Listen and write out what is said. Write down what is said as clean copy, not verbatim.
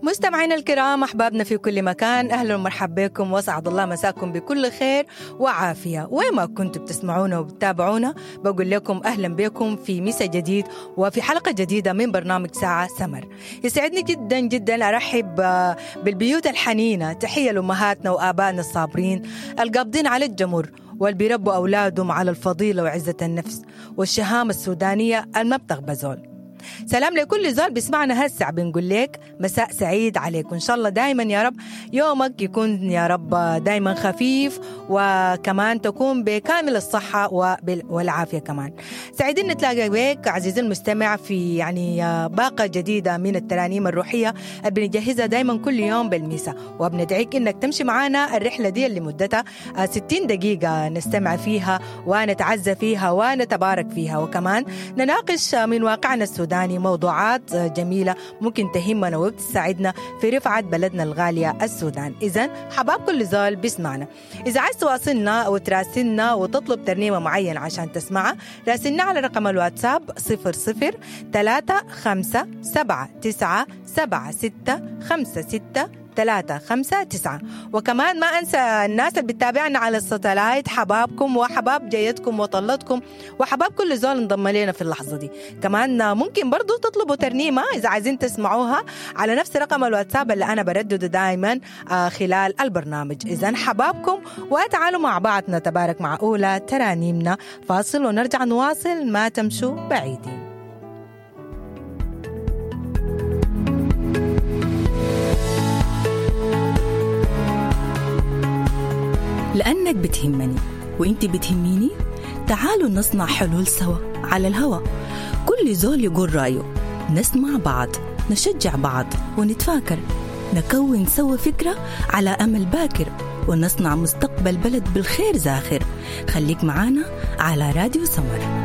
مستمعينا الكرام، احبابنا في كل مكان، اهلا ومرحبا بكم واسعد الله مساكم بكل خير وعافيه. وين ما كنتوا بتسمعونا وبتتابعونا، بقول لكم اهلا بكم في مسا جديد وفي حلقة جديدة من برنامج ساعة سمر. يسعدني جدا جدا ارحب بالبيوت الحنينه، تحية لامهاتنا وابائنا الصابرين القابضين على الجمر واللي بيربوا اولادهم على الفضيلة وعزه النفس والشهامه السودانية الما بتغبى زول. سلام لكل زول بيسمعنا هسه، بنقول لك مساء سعيد عليك، وان شاء الله دايما يا رب يومك يكون يا رب دايما خفيف، وكمان تكون بكامل الصحة والعافية. كمان سعيدين نتلاقى بك عزيزي المستمع في يعني باقة جديدة من الترانيم الروحية اللي بنجهزها دايما كل يوم بالمساء، وبندعيك انك تمشي معانا الرحلة دي اللي مدتها 60 دقيقة نستمع فيها ونتعزى فيها ونتبارك فيها، وكمان نناقش من واقعنا السوداني موضوعات جميلة ممكن تهمنا وبتساعدنا في رفعة بلدنا الغالية السودان. إذن حباب كل زول بيسمعنا. إذا عايز تواصلنا وتراسلنا وتطلب ترنيمة معينة عشان تسمعها، راسلنا على رقم الواتساب 00 3 5 7 9 7 6 5 6 3 5 9. وكمان ما أنسى الناس اللي بتتابعنا على الستلايت، حبابكم وحباب جيتكم وطلتكم وحباب كل زول انضم لنا في اللحظة دي. كمان ممكن برضو تطلبوا ترنيمة إذا عايزين تسمعوها على نفس رقم الواتساب اللي أنا بردده دايما خلال البرنامج. إذن حبابكم وتعالوا مع بعض نتبارك مع أولى ترانيمنا. فاصل ونرجع نواصل، ما تمشوا بعيدين. لأنك بتهمني وإنت بتهميني، تعالوا نصنع حلول سوا على الهوا. كل زول يقول رأيه، نسمع بعض، نشجع بعض، ونتفاكر، نكون سوا فكرة على أمل باكر، ونصنع مستقبل بلد بالخير زاخر. خليك معانا على راديو سمر.